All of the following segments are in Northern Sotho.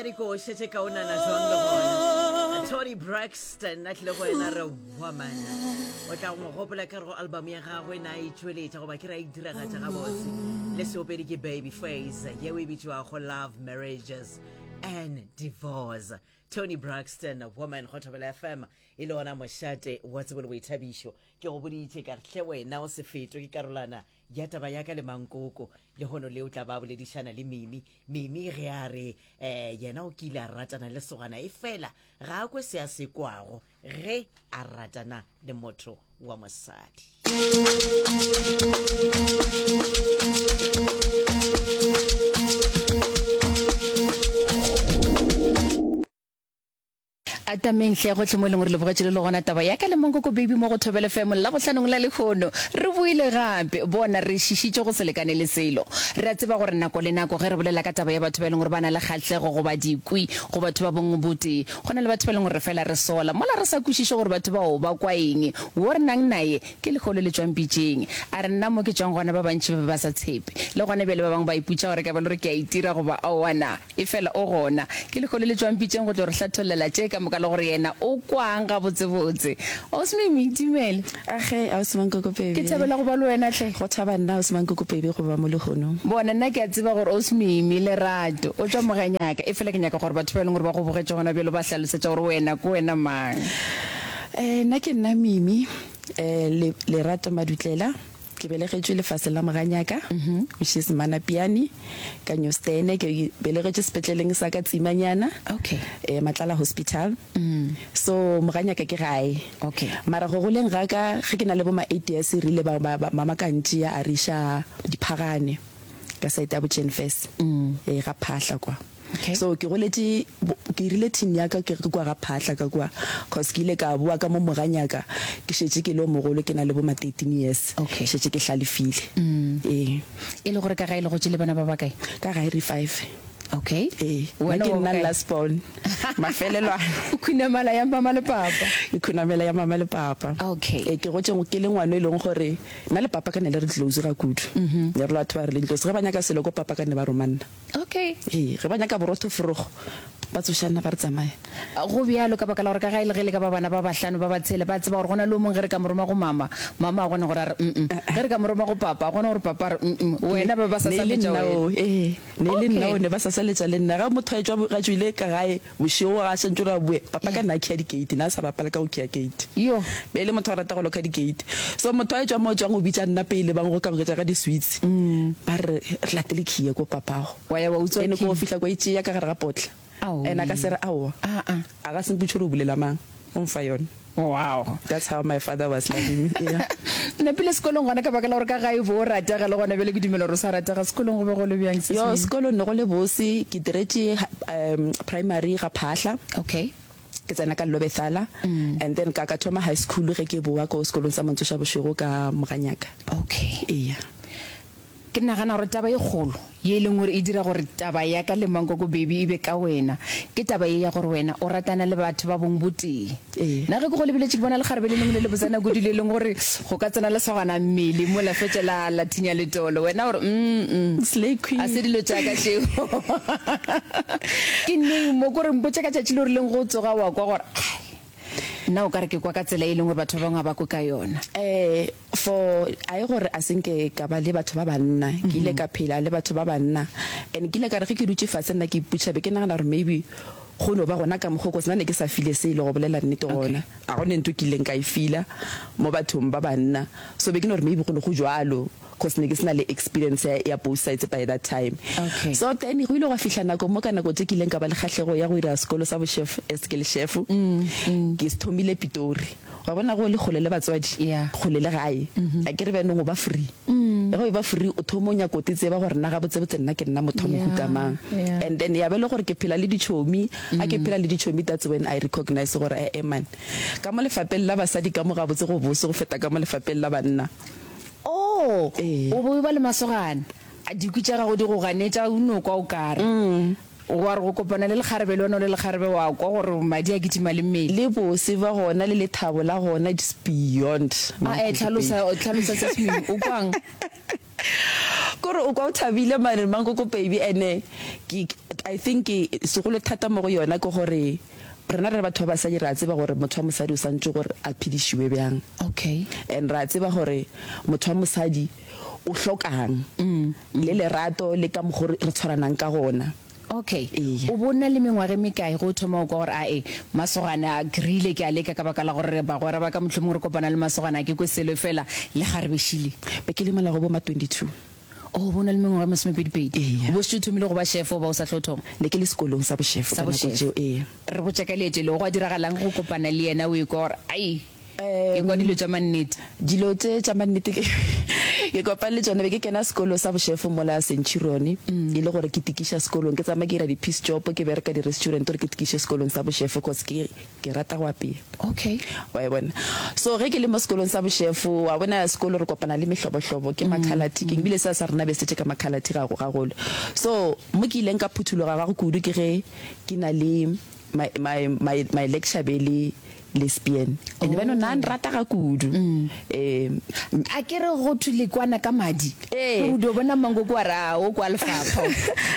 dikoše tše kaonana jwang le gona Toni Braxton a tlile go ena re woman o tla go mo gopola ka re go album ya gagwe na e tšweletša goba ke ra e diragatša gabotse le seopedi ke baby face yeo e bitšwago love marriages and divorce Toni Braxton woman go thobela fm e le ona mošate wa tsebo le boithabišo ke go boditše ka re hle wena o se fetwe ke karolana Ya taba ya ka le Mankoko, lehono le o tla ba a boledišana le Mimi. Mimi ge a re um yena o kile a ratana le sogana efela ga a kwe se a se kwago ge a ratana le motho wa mosadi. Atameng hle gohle mo e leng gore le bogetše le le gona taba ya ka le Mankoko Baby mo go Thobela FM Labohlanong la lehono. Re boile gape. Bona, re šišitše go se lekane le selo. Re a tseba gore nako le nako ge re bolela ka taba ya batho ba e leng gore ba na le kgahlego goba dikwi go batho ba bong botee, go na le batho ba e leng gore re fela re sola mola re sa kwešiše gore batho bao ba kwa eng. Wo re nang naye ke lehono le tšwang pitšeng. A re nna mo ke tšwang gona ba bantši ba be ba sa tshepe. Le gona bjale ba bangwe ba ipotša gore ka ba le gore ke a itira goba aowa na. Efela o gona. Ke lehono le tšwang pitšeng go tlo re hlathollela tše ka moka le gore yena o kwang gabotsebotse. Ausi Mimi, dumela. Age, Ausi Mankoko Baby. Ke thabela go ba le wena hle. Go thaba nna, Ausi Mankoko Baby, go ba mo lehono. Bona, nna ke a tseba gore Ausi Mimi, Lerato, o tšwa Moganyaka, efela ke nyaka gore batho ba e leng gore ba go bogetše gona bjalo ba hlalosetša gore wena ke wena mang. Eh, nna ke nna Mimi, eh, le, Lerato Madutlela. Ke belegetšwe lefaseng la Moganyaka, which is Manapiane, ka Newstene. Ke belegetšwe sepetleleng sa ka Tsimanyana, Okay. eh, Matlala Hospital. So Moganyaka ke gae. Okay. Mara go goleng ga ka, ge ke na le bo ma eight years, re ile ba, ba, ba, mama ka ntšea a re iša Diphagane, ka side ya bo Jenfes, eh, ga Phahla kwa. Okay. So ke goletše, ke irile teen ya ka ke kua ga Phahla ka kua, cause ke ile ka boa ka mo Moganyaka ke šetše ke le o mogolo ke na le bo ma 13 years. Okay. Šetše ke hlalefile. Ee. E le gore ka gae le gotše le bana ba bakae? Ka gae re five. Okay. Ee. Wena Nna ke wa nna bokae? last born. Mafelelwana. O khunamela ya mama le papa. Ke khunamela ya mama le papa. Okay. Ee, ke gotše ke le ngwana e leng gore nna le papa ka ne le re close ga kudu. Ne re le batho ba re leng close. Ge ba nyaka selo ko papa ka ne ba roma nna. Okay. Ee, ge ba nyaka borotho forogo, ba tsoša nna ba re tsamaya. Go bjalo ka baka la gore ka gae le ge le ka ba bana ba bahlano, ba ba tshela, ba tseba gore go na le o mongwe ge re ka mo roma go mama, mama a gona gore a re mm-mm. Ge re ka mo roma go papa, a gona gore papa a re mm-mm. Wena ba be ba Ne e le sasaletša nna wena. oo, ee, ne e le nna Okay. oo, ne ba sasaletša le nna. Ge motho a etšwa, a tšwile ka gae bošego, ga a santše gore a boe, papa ka nna a khiya di-gate, ne a sa bapale ka go khiya gate. Yo. Be e le motho a rata go loka di-gate. So motho a etšwa mo tšwang o bitša nna pele ba nkgokagoketša ka di-sweets. Ba re re latele khiye ko papago. Wa ya wa utswa Ene ko khiye. fihla ko e tšea ka gare ga potla. And a ka se re aowa. Aa. A ka se mpotše gore o bulela mang. O mfa yona. Wow. That's how my father was loving me. Yeah. Napile sekolong gona ka baka la gore ka gae o be o ratega le gona bjale ke dumela gore o sa ratega. Sekolong go be go le bjang sis Yo, Mimi? sekolong ne go le bose. Ke diretše um primary ga Phahla. Okay. Ke tsena ka Lobethala and then ka ka thoma high school ge ke bowa ko sekolong sa Mantsoša Bošego ka Moganyaka. Okay. Eya. Ke nagana gore taba e kgolo ye e leng gore e dira gore taba ya ka le Mankoko Baby e be ka wena, ke taba ye ya gore wena o ratana le batho ba bong botee. Ee. Nna ge ke go lebeletše ke bona lekgarebe le lengwe le lebotsana kudu le leng gore go ka tsena lesogana mmele mola fetša la la thinya letolo. Wena o re, mm-mm, Slay queen. a se dilo tša ka tšeo. Ke neng mo ko re mpotše ka tšatši le o rileng go tsoga wa kwa gore, ai, nna o ka re ke kwa ka tsela e leng gore batho ba bangwe ga ba kwe ka yona. Eh, for a e gore a se nke ka ba le batho ba banna, ke ile ka phela le batho ba banna and ke ile ka re ge ke dutše fase nna ke ipotšiša be ke nagana gore maybe go no ba gona ka mokgo cause nna ne ke sa file selo go bolela nnete gona a go ne ntho ke ileng ka e fila mo bathong ba banna so be ke no re maybe go ne go jwalo cause ne ke se na le experience ya, ya both sides by that time. Okay. So then go ile gwa fihla nako mo ka nako tše ke ileng ka ba le kgahlego ya go dira sekolo sa bochef as ke le chef. Ke se thomile Pitori. Wa bona ge o le kgole le batswadi, Yeah. kgole le gae, a ke re bjanong o ba free. Ge o eba free o thoma o nyaka o te tseba gore nna gabotsebotse nna ke nna motho wa mohuta Yeah, mang. yeah. And then ya ba e le gore ke phela le ditšhomi, ga ke phela le ditšhomi that's when I recognize gore eh-eh man, ka mo lefapeng la basadi ka mo gabotse go bose go feta ka mo lefapeng la banna. Oh, Ee. o be o eba le masogana, a dikwi tša gago di go ganetša, o no kwa o kare. Wa re go kopana le lekgarebe le wena o le lekgarebe wa kwa gore madi a kitima le mmele. Le bose bja gona le lethabo la gona it's beyond A e hlalosa, hlalosa se sengwe. O kwang? Kore o kwa o thabile mane Mankoko baby ene ke I think segolo thata mo go yona ke gore rena re le batho ba basadi re a tseba gore motho wa mosadi o santše gore a phedišiwe bjang. Okay. And re a tseba gore motho wa mosadi o hlokang le lerato le ka mokgo re tshwaranang ka gona. Okay. Eya. O bo na le mengwaga e mekae ge o thoma go kwa gore ae, masogana a krile ke a leka ka baka la gore bagwera ba ka mohlomongwe re kopana le masogana a ke kwe selo efela le kgarebe šile? Be ke le mola go bo ma 22. Oh, o bo na le mengwaga e masomepedipedi. Eya. O bo šetše o thomile go ba chef goba o sa hlo thoma? Ne ke le sekolong sa bochef Sa ka nako bochef. tšeo, eya. Re botše ka leeto leo, gwa diragalang go kopana le yena o ekwa gore ai, Ke kwa dilo tša mannete. Dilo tše tša mannete ke ke kopane le tšona be ke kena sekolo sa bošefo mola Centurion, e le gore ke tikiša sekolong, ke tsamaya ke dira di-piece job, ke bereka di-restaurant gore ke tikiše sekolong sa bošefo cause ke ke rata go apea. Okay. Wa e bona? So ge ke le mo sekolong sa bošefo, wa bona sekolo re kopana le mehlobohlobo, ke makhalate, ke ebile seo sa rena be se tletše ka makhalate gagolo. So mo ke ileng ka phuthologa gago kudu ke ge ke na le my my my my lecture be le lesbian and oh. bano nna nrata ga kudu mm. eh a ke re go thwe le kwana ka madi eh o do bona mango kwa ra o kwa lefapha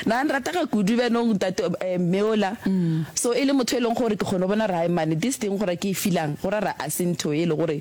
nna nrata ga kudu bano ntate eh, meola mm. so e le motho e leng gore ke kgone bona ra mane this thing gore ke e feelang gore ra a sentho e le gore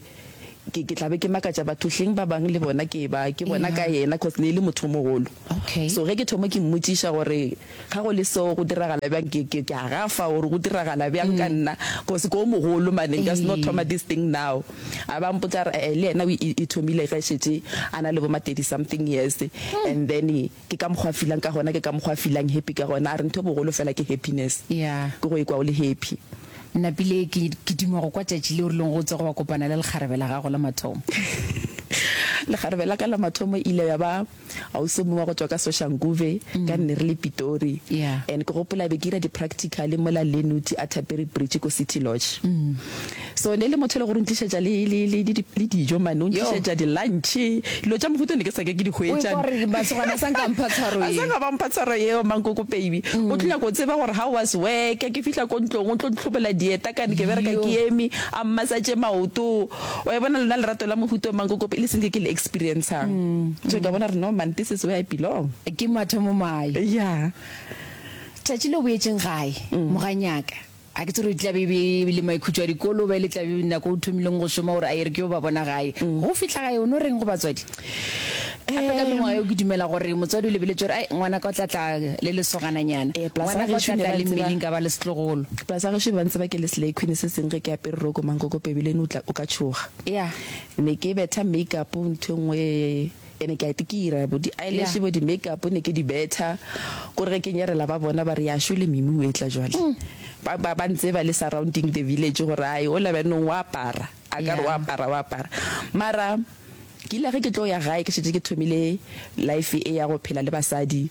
ke ke tlabe ke makatša batho hleng ba bang le bona ke ba ke bona ka yena cause ne e le motho o mogolo okay so ge ke thoma ke mmotšiša gore ga go le so go diragala bjang ke ke ke a gafa gore go diragala bjang ka nna cause ke o mogolo mane nka se no thoma this thing now a ba mpotsa re eh le yena o e thomile ge šetše a na le bo ma 30 something years and then ke ka mokgwa a feelang ka gona ke ka mokgwa a feelang happy ka gona a re ntho e bogolo fela ke happiness Yeah. ke go ikwa o le happy. Napile ke ke duma go kwa tšatši le o rileng go tsoga wa kopana le lekgarebe la gago la mathomo. Lekgarebe la ka la mathomo e ile ya ba ausi o mongwe wa go tšwa ka Soshanguve, ka nne re le Pitori. Yeah. And ke gopola be ke ira di-practical mola Lenuti a Thaperi Bridge ko City Lodge. So ne e le motho e le gore o ntlišetša le, le, le, le, le dijo mane, o ntlišetša di-lunch, dilo tša mohuta ne ke sa ke ke di hwetša. O ekwa gore masogana a sa nka mpha tshwaro A ye. sa nka ba mpha tshwaro yeo, Mankoko baby. O tlo nyaka go tseba gore how was work, ke fihla ko ntlong o tlo ntlhobela dieta kane ke bereka ke eme, a mmassage maoto. Wa e bona lona lerato la mohuta o Mankoko le senke ke le experiencang. So ka bona gore no man, this is where I belong. Ke mathomo mae. Yeah. Tšatši le o boetšeng gae, moganyaka, A ke tsebe gore e tla be e be e le maikhutšo a dikolo goba e le tla be nako o thomileng go šoma gore a e re ke yo ba bona gae. Ge o fihla gae o no reng go batswadi? Gape ka mengwaga eo ke dumela gore motswadi o lebeletše gore ai ngwanaka o tla tla le lesogananyana, ngwanaka o tla tla le mmeleng ka ba le setlogolo. Plus ga gešo ba ntseba ke le slay queen se seng ge ke apere roko mankoko pebe le ene o tla o ka tšhoga. Yeah. Ne ke betha make up ntho e nngwe. Ene ke a itikira, bo di eyelash, bo di make-up ne ke di betha. Kore ge ke nyerela ba bona ba re ya šole Mimi o etla jwale. Ba ba ba ntseba le surrounding the village gore ai ola bjanong o apara, a ka re o apara o apara. Mara ke ile ge ke tlo ya gae ke šetše ke thomile life e ya go phela le basadi.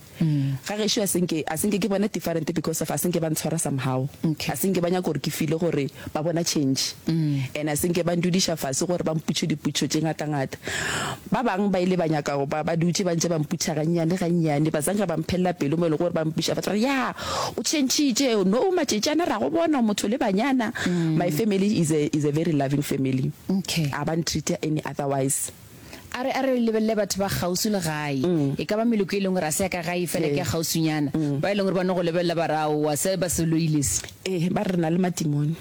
Ga gešo a se nke, a se nke ke bona different because of a se nke ba ntshwara somehow. Okay. A se nke ba nyaka gore ke feel-e gore ba bona change. And a se nke ba ndudiša fase gore ba mputše diputšo tše ngata-ngata. Ba bang ba ile ba nyaka go, ba, ba dutše ba ntše ba mputša gannyane gannyane, ba zanka ba mphelela pelo mo e lego gore ba mputša ba tla re, Ya, o changitše, no, matšatši ana ra go bona o motho le banyana. My family is a, is a very loving family. Okay. A ba ntreat-a any otherwise. A re, a re lebelele batho ba kgauswi le gae. E ka ba meloko e leng gore a se ya ka gae efela ke ya kgauswinyana, ba e leng gore ba no go lebelela ba re, Aowa, se ba se loile se. Ee, ba re re na le matimone.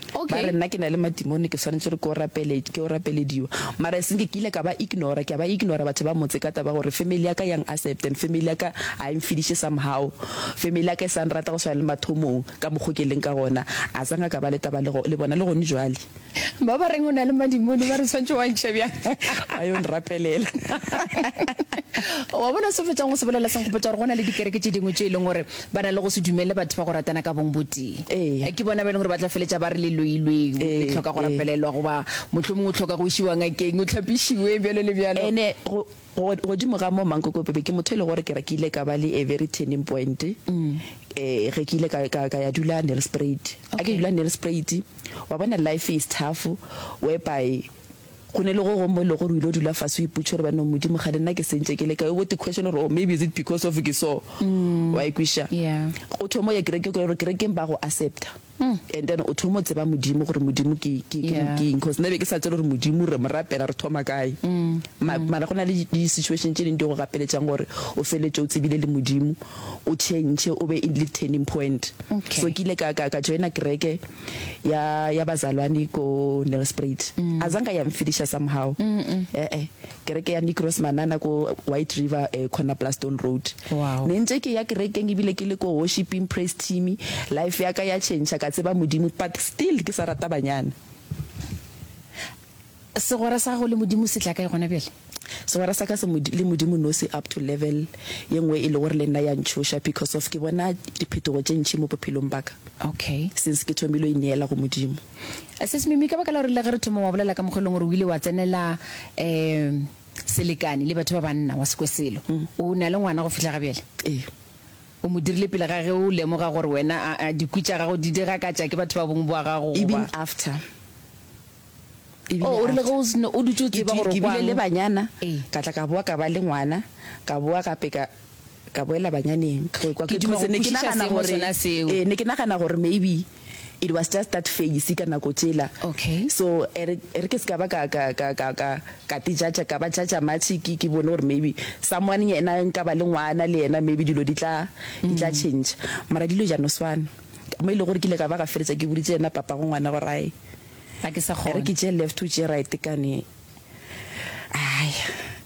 Ba Okay. re nna ke na le matimone, ke swanetše gore ke o rapele, ke o rapelediwa. Mara eseng ke ile ka ba ignora, ke a ba ignora batho ba motse ka taba ya gore family ya ka ya ng-accept and family ya ka ga e mfediše somehow. Family ya ka e sa nrata go swana le mathomong ka mokgo ke leng ka gona. A sa nka ka ba le taba le, le bona le gone jwale. Ba ba reng o na le madimone ba re tshwanetse wa ntšhe bjang? Ba yo nrapelela. Wa bona se fetšang go se bolela se nkgopotša gore go na le dikereke tše dingwe tše e leng gore ba na le go se dumelele batho ba go ratana ka bong botee. Ee. Ke bona ba e leng gore ba tla feletša ba re le loilwe, le hloka go rapelelwa goba mohlomongwe o hloka go išiwa ngakeng o hlapišiwe bjalo le bjalo. Ene go Go, godimo ga moo, Mankoko Bebe, ke motho e le gore ke re ke ile ka ba le a very turning point, eh, ge ke ile ka, ka, ka ya dula Nelspruit. Ha ke dula Nelspruit, wa bona life is tough, whereby go ne le go gongwe mo e le gore o ile dula fase o ipotša gore banong Modimo kgane nna ke sentše ke le kae, o bo te question gore oh maybe is it because of ke so, wa e kwešiša? Yeah. O thoma o ya kerekeng, gore kerekeng ba go accepta. And then o thoma o tseba Modimo gore Modimo ke ke ke Yeah. ke eng cause nna be ke sa tsebe gore Modimo re mo rapela re thoma kae. Ma, mara go na le di situation tše ding di go gapeletšang gore o feletše o tsebile le Modimo, o change o be le turning point. Okay. So ke ile ka ka ka joina kereke ya ya bazalwane ko Nelspruit. Azange ya mfediša somehow. Eh eh. Kereke ya Nickros Manana ko White River eh, corner Plaston Road. Wow. Ne ntse ke ya kerekeng ebile ke le ko worshiping praise team, life ya ka ya change ka tseba Modimo but still ke sa rata banyana. Segwera sa gago le Modimo se tla kae gona bjale? Segwera sa ka se le Modimo no se up to level ye nngwe e le gore le nna ya ntšhoša because of ke bona diphetogo tše ntši mo bophelong ba ka. Okay. Since ke thomile go ineela go Modimo. Sis Mimi, ka baka la gore le ge re thoma wa bolela ka mokgwa e leng gore o ile wa tsenela um selekane le batho ba banna wa se kwe selo, o na le ngwana go fihla ga bjale? Ee. O mo dirile pele ga ge o lemoga gore wena a dikwi tša gago di diragakatša ke batho ba bong bwa gago Even goba? after. Ebile Oh, o rile ge after. o seno o dutše o Ke tseba di gore o ke bile le kwang? banyana, Ee. ka tla ka boa ka ba le ngwana, ka boa gape ka ka boela banyaneng. Go kwa Ke ke duma go cause ne ke kwešiša nagana seemo gore sona seo. ee, ne ke nagana gore maybe it was just that phase ka nako tšela. Okay. So e re e re ke se ka ba ka ka ka ka ka ka te judge ka ba judge much ke ke bone gore maybe someone yena nka ba le ngwana le yena maybe dilo di tla di tla change. Mara dilo ja no swana. Mo e le gore ke ile ka ba ga feletša ke boditše yena papa go ngwana gore ai Ga ke sa e re kgona. ke tšee left o tšee right kane ai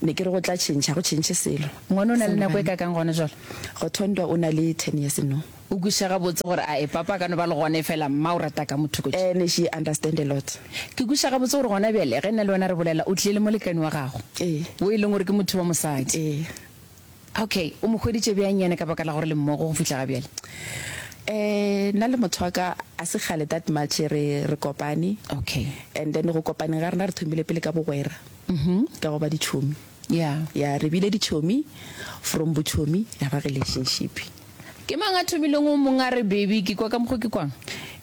ne ke re go tla change ga go change selo. Ngwana o na le nako e kakang gona jwale? Go Thondwa o na le 10 years no. O kwešiša gabotse gore ae papa a ka no ba le gona efela mma o rata ka motho ko. Ene she understand a lot. Ke kwešiša gabotse gore gona bjale ge nna le wena re bolela o tlile le molekane wa gago. Ee. Wo e leng gore ke motho wa mosadi. Ee. Okay, o mo hweditše bjang yena ka baka la gore le mmogo go fihla ga bjale? Eh, nna le motho wa ka a se kgale that much re re kopane. Okay. And then go kopaneng ga rena re thomile pele ka bogwera. Ka go ba ditšhomi. Yeah. Yeah, re bile ditšhomi, from botšhomi ya ba relationship. Ke mang a thomileng o mong a re baby ke kwa ka mokgo ke kwang?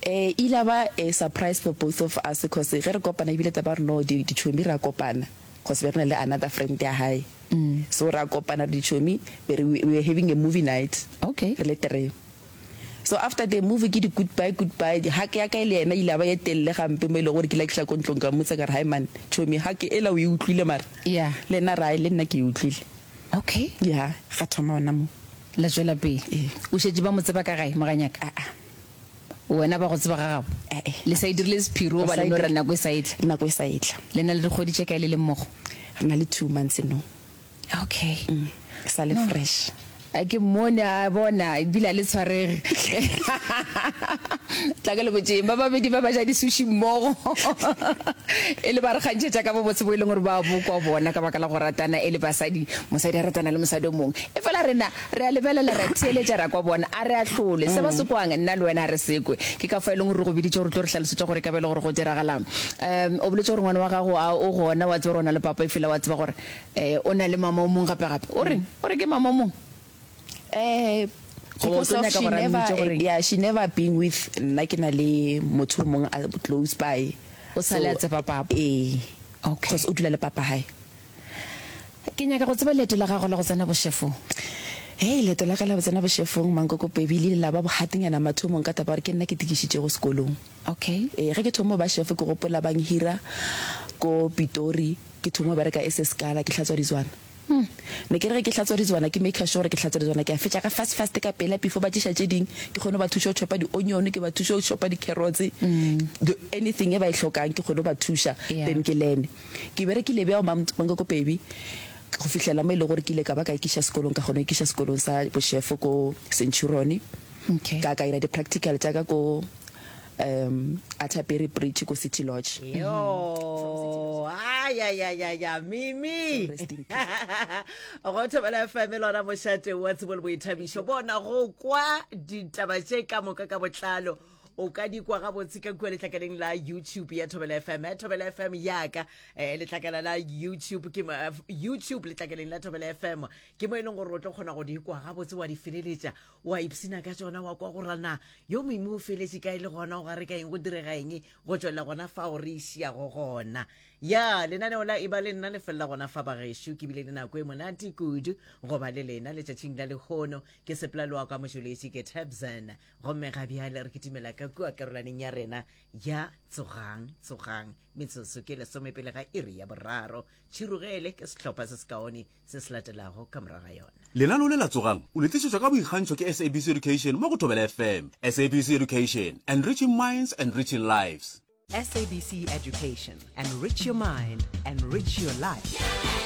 Eh, e ile ya ba a surprise for both of us cause ge re kopana ebile taba ya gore no di ditšhomi ra kopana cause be re na le another friend ya hae. So ra kopana re ditšhomi be re we were having a movie night. Okay. Re le three. So after the movie ke di goodbye goodbye, hug ya ka le yena e ile ya ba ye telele gampe mo e lego gore ke ile ka fihla ko ntlong ka mmotsa ka re hai man tšhomi hug ela o e utlwile mara? Yeah. Le yena a re hai le nna ke e utlwile. Okay. Yeah, ga thoma gona moo. La tšwela pele. Ee. O šetše ba mo tseba ka gae, moganyaka? Aa. Wena ba go tseba ga gabo? Ee. Le sa e dirile sephiri goba le no re nako e sa etla? Nako e sa etla. Le na le dikgwedi tše kae le le mmogo? Re na le 2 months no. Okay. E sa le fresh. A ke mmone a bona ebile a le tshwarege. Tla ke le botšeng ba babedi ba ba ja di-sushi mmogo e le ba re kgantšhetša ka bobotse bo e leng gore ba bo kwa bona ka baka la go ratana e le basadi, mosadi a ratana le mosadi o mongwe. Efela rena re a lebelela, ra theeletša, ra kwa bona, a re ahlole. Se ba se kwang, nna le wena a re se kwe. Ke ka fao e leng gore re go biditše gore o tlo re hlalosetša gore e ka ba e le gore go diragalang. Um o boletše gore ngwana wa gago a o gona, wa tseba gore o na le papa efela wa tseba gore Eh, o na le mama o mong gape gape. O reng? O re ke mama o mong? Eh, Goba o because tlo of nyaka she gore a never, mmitše gore eng? yeah, she never been with nna ke na le motho o mong a close by. O sa le a tseba papa. Ee. Okay. Because o dula le papa hae. Ke nyaka go tseba leeto la gago la go tsena bošefong. Hei, leeto la ka la go tsena bošefong, Mankoko Baby, le ile la ba bogatenyana mathomong ka taba ya gore ke nna ke tikišitšego sekolong. Okay. Ee, ge ke thoma go ba chef ke gopola ba nhira ko Pitori. Ke thoma go bereka as a scala ke hlatswa ditswana. Ne ke re ge ke hlatswa ditswana ke maker sure gore ke hlatswa ditswana ke a fetša ka fast fast ka pela before ba tliša tše ding ke kgone go ba thuša go chopa di onion ke ba thuše go chopa di carrots the anything e ba e hlokang ke kgone go ba thuša then ke learn. Ke berekile bjao Mankoko Baby go fihlela mo e lego gore ke ile ka ba ka ikiša sekolong ka kgona go ikiša sekolong sa bo chef ko Centurion ka ka ira di practical tša ka ko um Atterbury Bridge ko City Lodge. Yo, ay, ay, ay, ay, ay, Mimi. Rest in peace. Go Thobela FM lona mošate wa tsebo le boithabišo. Bona go kwa ditaba tše ka moka ka botlalo. O ka di kwa gabotse ka kua letlakaleng la YouTube ya Thobela FM. Eh, Thobela FM yaka eh, letlakala la YouTube ke mo- eh, YouTube letlakaleng la Thobela FM ke mo e leng gore o tlo kgona go di kwa gabotse wa di feleletša wa ipshina ka tšona wa kwa gore na yo Mimi o feletše kae le gona o gare ka eng go direga eng go tšwelela gona fao re išiago gona. Ya, lenaneo la Eba le Nna le felela gona fa bagešo. Ke bile le nako e monate kudu go ba le lena letšatšing la lehono. Ke sepela le wa ka motšweletši ke Tabzan. Gomme ga bjale re kitimela ka kua karolwaneng ya rena ya Tsogang, Tsogang. Metsotso ke lesomepele ga iri ya boraro. Tšhirogele ke sehlopha se sekaone se se latelago ka morago ga yona. Lenaneo le la Tsogang o le tlišetšwa ka boikgantšho ke SABC Education mo go Thobela FM. SABC Education, enriching minds, enriching lives. SABC Education, enrich your mind, enrich your life.